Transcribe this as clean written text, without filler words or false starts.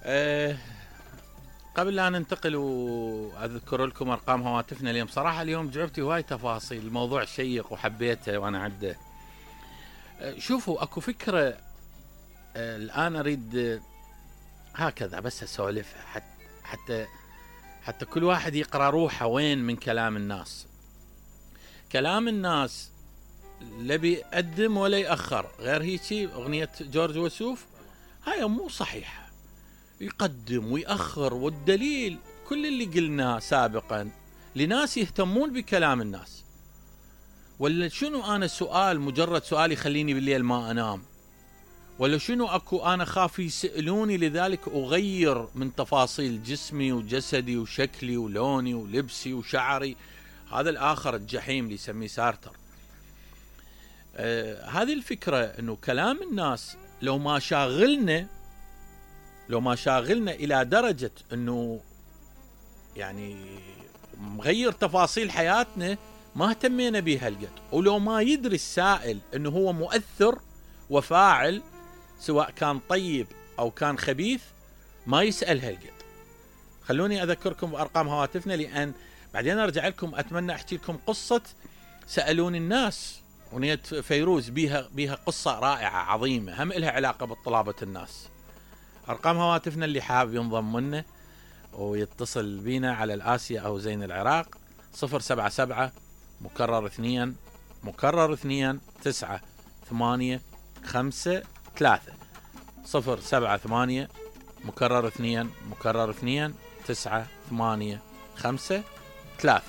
أه قبل لا ننتقل واذكر لكم ارقام هواتفنا اليوم، صراحه اليوم جاوبتي هواي تفاصيل، الموضوع شيق وحبيته وانا عده. شوفوا اكو فكره الان اريد هكذا بس اسولفها حتى كل واحد يقرا روحه وين من كلام الناس. كلام الناس لا بيقدم ولا يأخر، غير هيجي اغنيه جورج وسوف هاي مو صحيحه، يقدم ويأخر. والدليل كل اللي قلناه سابقا لناس يهتمون بكلام الناس. ولا شنو انا سؤال، مجرد سؤال يخليني بالليل ما انام؟ ولا شنو اكو انا خاف يسألوني لذلك اغير من تفاصيل جسمي وجسدي وشكلي ولوني ولبسي وشعري؟ هذا الاخر الجحيم اللي يسميه سارتر. هذه الفكرة انه كلام الناس لو ما شاغلنا الى درجة انه يعني مغير تفاصيل حياتنا، ما اهتمينا بيها هالقد. ولو ما يدري السائل انه هو مؤثر وفاعل سواء كان طيب او كان خبيث، ما يسأل هالقد. خلوني اذكركم بارقام هواتفنا، لان بعدين ارجع لكم اتمنى احكي لكم قصة سألوني الناس. اغنية فيروز بيها قصة رائعة عظيمة، هم إلها علاقة بطلابة الناس. ارقام هواتفنا اللي حابب ينضم لنا ويتصل بينا على الآسيا او زين العراق 077 مكرر 2 مكرر 2 9 8 5 3 078 مكرر 2 مكرر 2 9 8 5 3.